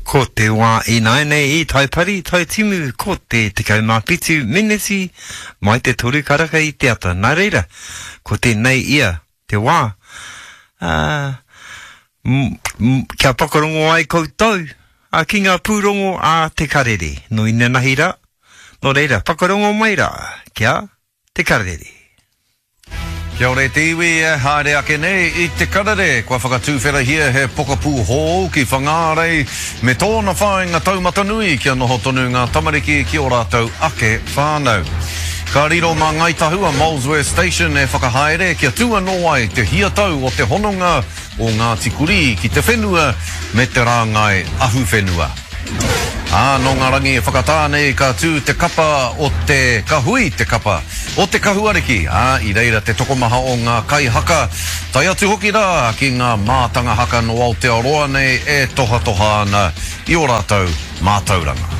Ko te wā ināianei i Taipari, Taitimu, ko te 17 meneti mai te toru karaka i te ata. Nā reira, ko tēnei ia te wā, ā, kia whakarongo ai koutou ā, ki ngā pūrongo a Te Karere. Nō inanahi rā, nō reira, whakarongo mai rā kia Te Karere. Kia ora e te iwi e haere ake nei i Te Karere, kua whakatūwherahia he pokapū hou ki Whangārei me tōna whāinga taumatanui kia noho tonu ngā tamariki ki ō rātou ake whānau. Ka riro mā Ngāi Tahu a Molesworth Station e whakahaere kia tū anō ai te hiatau o te hononga o Ngāti Kurī ki te whenua me te rāngai ahuwhenua. Ā, nō ngā rangi e whakatā nei ka tū te kapa o te, ka hui te kapa o Te Kahu Ariki, ā, i reira te tokomaha o ngā kaihaka, tae atu hoki rā ki ngā mātanga haka nō Aotearoa nei e tohatoha ana i ō rātou mātauranga.